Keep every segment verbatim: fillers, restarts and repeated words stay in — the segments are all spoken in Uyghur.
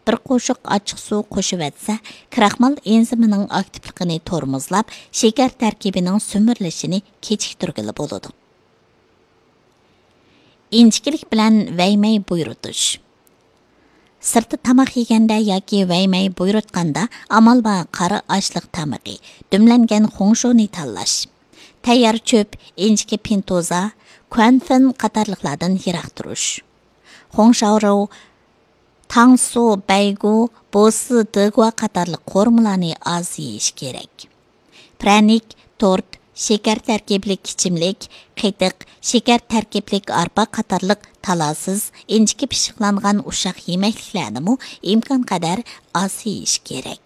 بىر قوشۇق ئاچچىق سۇ قوشۇۋەتسە، كراخمال ئېنزىمىنىڭ ئاكتىپلىقىنى تورمۇزلاپ، شېكەر تەركىبىنىڭ سۈمۈرۈلۈشىنى كېچىكتۈرگىلى بولىدۇ. ئىنچىكىلىك بىلەن ۋەيمەي بۇيرۇتۇش. سىرتتا تاماق يېگەندە ياكى ۋەيمەي بۇيرۇتقاندا ئامال بار قارا ئاشلىق تامىقى، دۈملەنگەن خۇڭشۇنى تاللاش. تەييار چۆپ، ئىنچىكە پىنتوزا، كۇەنفېن قاتارلىقلاردىن يىراق تۇرۇش. خۇڭشاۋرو، تاڭسۇ، بەيگۇ، بوسى دېگۇا قاتارلىق قورۇمىلارنى ئاز يېيىش كېرەك. پىرەنىك، تورت، شېكەر تەركىبلىك ئىچىملىك، قېتىق، شېكەر تەركىبلىك ئارپا قاتارلىق تالاسىز، ئىنچىكە پىششىقلانغان ئۇششاق يېمەكلىكلەرنىمۇ ئىمكانقەدەر ئاز يېيىش كېرەك.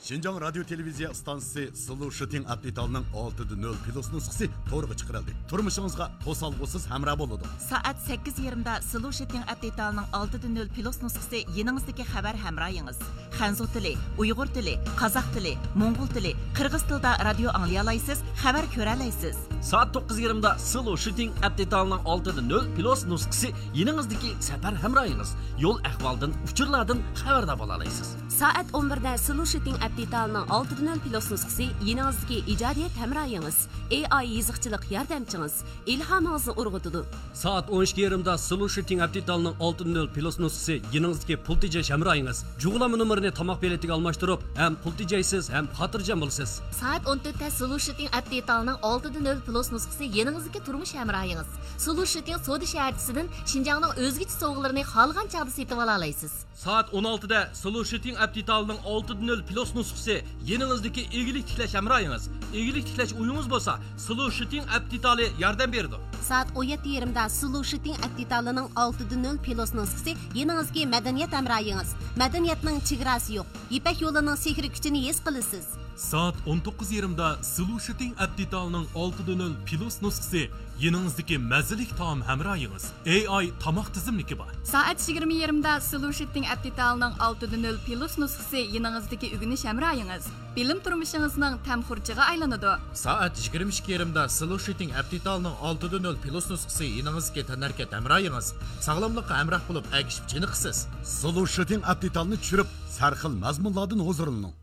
شىنجاڭ رادىيو تېلېۋىزىيە ئىستانسىسى سلۇشىتىڭ ئەپ دېتالىنىڭ ئالتىدە نۆل پلۇس نۇسخىسى تورغا چىقىرىلدى. تۇرمۇشىڭىزغا توسالغۇسىز ھەمراھ بولىدۇ. سائەت سەككىز يېرىمدا سلۇشىتىڭ ئەپ دېتالىنىڭ ئالتىدە نۆل پلۇس نۇسخىسى يېنىڭىزدىكى خەۋەر ھەمراھىڭىز. خەنزۇ تىلى، ئۇيغۇر تىلى، قازاق تىلى، موڭغۇل تىلى، قىرغىز تىلىدا رادىيو ئاڭلىيالايسىز، خەۋەر كۆرەلەيسىز. سائەت توققۇز يېرىمدا سلۇشىتىڭ ئەپ دېتالىنىڭ ئالتىدە نۆل پلۇس نۇسخىسى يېنىڭىزدىكى سەپەر ھەمراھىڭىز. يول ئەھۋالدىن، ئۇچۇرلاردىن خەۋەردار بولالايسىز. سائەت ئون بىردە سلۇشىتىڭ ئەپ دېتالىنىڭ ئالتىدە نۆل پلۇس نۇسخىسى يېنىڭىزدىكى ئىجادىيەت ھەمراھىڭىز، ئېي ئاي يېزىقچىلىق ياردەمچىڭىز، ئىلھامىڭىزنى ئۇرغۇتىدۇ. سائەت ئون ئىككى يېرىمدا سلۇشىتىڭ ئەپ دېتالىنىڭ ئالتىدە نۆل پلۇس نۇسخىسى يېنىڭىزدىكى پۇل تېجەش ھەمراھىڭىز. جۇغلانما نومۇرىنى تاماق بېلىتىگە ئالماشتۇرۇپ، ھەم پۇل تېجەيسىز، ھەم خاتىرجەم بولىسىز. سائەت ئون تۆتتە سلۇشىتىڭ ئەپ دېتالىنىڭ ئالتىدە نۆل پلۇس نۇسخىسى يېنىڭىزدىكى تۇرمۇش ھەمراھىڭىز. سلۇشىتىڭ سودا شەھەرچىسىدىن شىنجاڭنىڭ ئۆزگىچە سوۋغىلىرىنى خالىغان چاغدا سېتىۋالالايسىز. سائەت ئون ئالتىدە سلۇشىتىڭ ئەپ دېتالىنىڭ ئالتىدە نۆل پلۇس نۇسخىسى يېنىڭىزدىكى ئىگىلىك تىكلەش ھەمراھىڭىز. ئىگىلىك تىكلەش ئويىڭىز بولسا، سلۇشىتىڭ ئەپ دېتالى ياردەم بېرىدۇ. سائەت ئون يەتتە يېرىمدا سلۇشىتىڭ ئەپ دېتالىنىڭ ئالتىدە نۆل پلۇس نۇسخىسى يېنىڭىزدىكى مەدەنىيەت ھەمراھىڭىز. مەدەنىيەتنىڭ چېگراسى يوق. يىپەك يولىنىڭ سېھرىي كۈچىنى ھېس قىلىسىز. سائەت ئون توققۇز يېرىمدا سلۇشىتىڭ ئەپ دېتالىنىڭ ئالتىدە نۆل پلۇس نۇسخىسى يېنىڭىزدىكى مەززىلىك تائام ھەمراھىڭىز. ئېي ئاي تاماق تىزىملىكى بار. سائەت يىگىرمە يېرىمدا سلۇشىتىڭ ئەپ دېتالىنىڭ ئالتىدە نۆل پلۇس نۇسخىسى يېنىڭىزدىكى ئۆگىنىش ھەمراھىڭىز. بىلىم تۇرمۇشىڭىزنىڭ تەم خۇرجىغا ئايلىنىدۇ. سائەت يىگىرمە ئىككى يېرىمدا سلۇشىتىڭ ئەپ دېتالىنىڭ ئالتىدە نۆل پلۇس نۇسخىسى يېنىڭىزدىكى تەنھەرىكەت ھەمراھىڭىز. ساغلاملىققا ھەمراھ بولۇپ، ئەگىشىپ چېنىقىسىز. سلۇشىتىڭ ئەپ دېتالىنى چۈشۈرۈپ، سەرخىل مەزمۇنلاردىن ھۇزۇرلىنىڭ.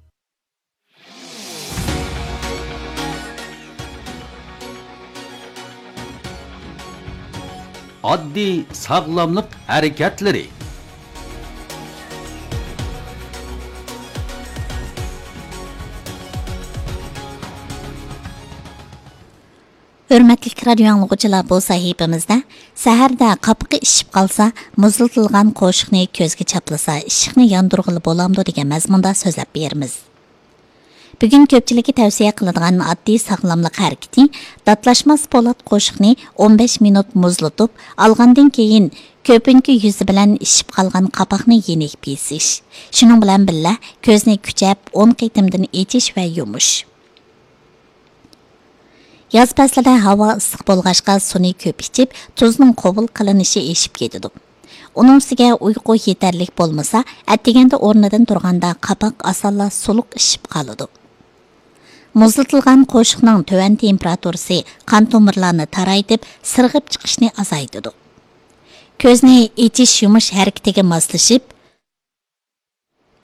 ئاددىي ساغلاملىق ھەرىكەتلىرى. ھۆرمەتلىك رادىيو ئاڭلىغۇچىلار، بۇ سەھىپىمىزدە سەھەردە قاپىقى ئىششىپ قالسا، مۇزلىتىلغان قوشۇقنى كۆزگە چاپلىسا، ئىششىقنى ياندۇرغىلى بولامدۇ دېگەن مەزمۇندا سۆزلەپ بېرىمىز. بۈگۈن كۆپچىلىككە تەۋسىيە قىلىدىغان ئاددىي ساغلاملىق ھەرىكىتى، داتلاشماس پولات قوشۇقنى ئون بەش مىنۇت مۇزلىتىپ ئالغاندىن كېيىن، كۆپۈنكى يۈزى بىلەن ئىششىپ قالغان قاپاقنى يېنىك بېسىش. شۇنىڭ بىلەن بىللە، كۆزنى كۈچەپ ئون قېتىمدىن ئېچىش ۋە يۇمۇش. ياز پەسلىدە ھاۋا ئىسسىق بولغاچقا، سۇنى كۆپ ئىچىپ، تۇزنىڭ قوبۇل قىلىنىشى ئېشىپ كېتىدۇ. ئۇنىڭ ئۈستىگە ئۇيقۇ يېتەرلىك بولمىسا، ئەتىگەندە ئورنىدىن تۇرغاندا قاپاق ئاسانلا سۇلۇق ئىششىپ قالىدۇ. مۇزلىتىلغان قوشۇقنىڭ تۆۋەن تېمپېراتۇرىسى قان تومۇرلارنى تارايتىپ، سىرغىپ چىقىشنى ئازايتىدۇ. كۆزنى ئېچىش-يۇمۇش ھەرىكىتىگە ماسلىشىپ،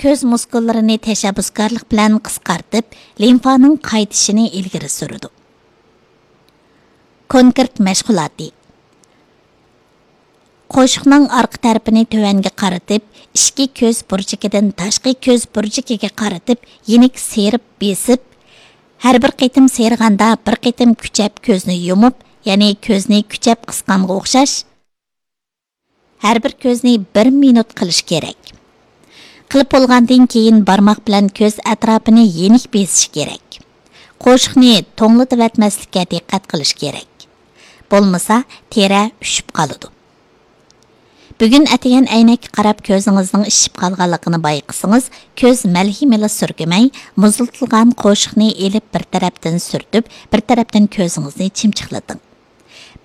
كۆز مۇسكۇللىرىنى تەشەببۇسكارلىق بىلەن قىسقارتىپ، لىمفانىڭ قايتىشىنى ئىلگىرى سۈرىدۇ. كونكرېت مەشغۇلاتى. قوشۇقنىڭ ئارقا تەرىپىنى تۆۋەنگە قارىتىپ، ئىچكى كۆز بۇرجىكىدىن تاشقى كۆز بۇرجىكىگە قارىتىپ يېنىك سىيرىپ بېسىپ، ھەر بىر قېتىم سىيرىغاندا بىر قېتىم كۈچەپ كۆزنى يۇمۇپ، يەنى كۆزنى كۈچەپ قىسقانغا ئوخشاش، ھەر بىر كۆزنى بىر مىنۇت قىلىش كېرەك. قىلىپ بولغاندىن كېيىن بارماق بىلەن كۆز ئەتراپىنى يېنىك بېسىش كېرەك. قوشۇقنى توڭلىتىۋەتمەسلىككە دىققەت قىلىش كېرەك. بولمىسا، تېرە ئۈشۈپ قالىدۇ. بۈگۈن ئەتىگەن ئەينەككە قاراپ كۆزىڭىزنىڭ ئىششىپ قالغانلىقىنى بايقىسىڭىز، كۆز مەلھىمىلا سۈركىمەي، مۇزلىتىلغان قوشۇقنى ئېلىپ بىر تەرەپتىن سۈرتۈپ، بىر تەرەپتىن كۆزىڭىزنى چىمچىقلىتىڭ.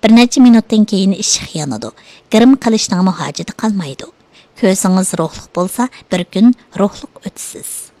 بىر نەچچە مىنۇتتىن كېيىن ئىششىق يانىدۇ. گىرىم قىلىشنىڭمۇ ھاجىتى قالمايدۇ. كۆزىڭىز روھلۇق بولسا، بىر كۈن روھلۇق ئۆتىسىز.